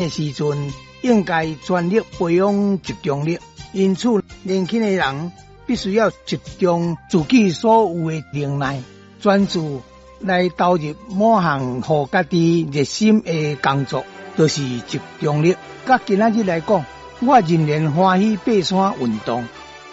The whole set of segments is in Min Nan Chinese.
的時陣，應該全力培養集中力。因此，年輕的人必須要集中自己所有的能耐，專注來投入某項予家己熱心的工作，就是集中力。佮今仔日來講，我仍然歡喜爬山運動，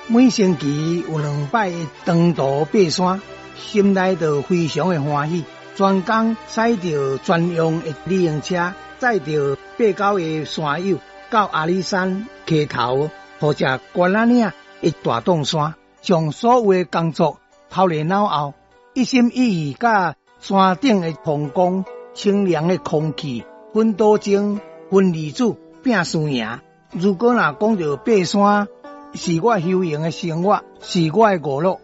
每星期有兩擺的長途爬山，心內就非常的歡喜。專工駛著專用的旅行車，載著八九个山友到阿里山溪頭或者關仔嶺的大洞山，將所有的工作拋佇腦後，一心一意佮山頂的風光、清涼的空氣、分多精、分離子拼輸贏。如果若講著爬山是我休閒的生活，是我的娛樂，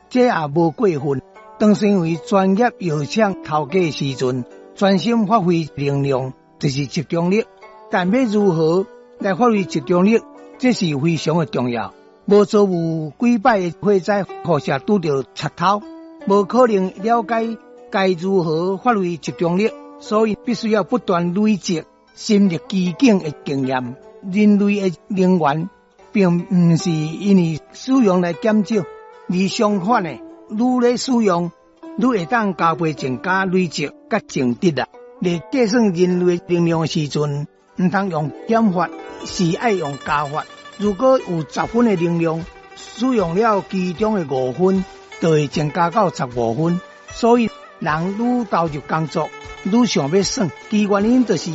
這也無過分。當身為專業藥廠頭家的時陣，專心發揮能量，就是集中力。但欲如何來發揮集中力，這是非常的重要。無遭遇幾擺的火災，或是拄著賊偷，無可能了解該如何發揮集中力。所以必須要不斷累積深入其境的經驗。人類的能源，並毋是因為使用來減少，而相反的，愈咧使用，愈會當加倍增加累積佮增值啦。咧計算人類能量的時陣，毋通用減法，是愛用加法。如果有10分的能量，使用了其中的五分，就會增加到15分。所以，人愈投入工作，愈想欲耍，其原因就是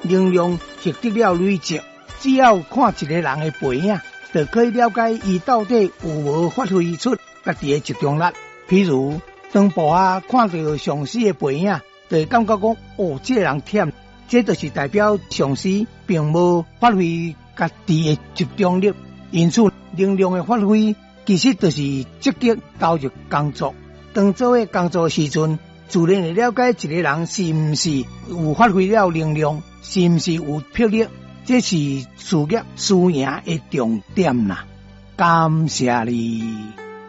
能量獲得了累積。只要看一个人的背影，就可以了解伊到底有無發揮出家己的集中力。譬如，當部下看著上司的背影，就會感覺講：哦，這个人忝。這就是代表上司並無發揮家己的集中力。因此，能量的發揮其實就是積極投入工作。當做伙工作的時陣，自然會了解一个人是毋是有發揮了能量，是毋是有魄力。這是事業輸贏的重點啦。感謝你。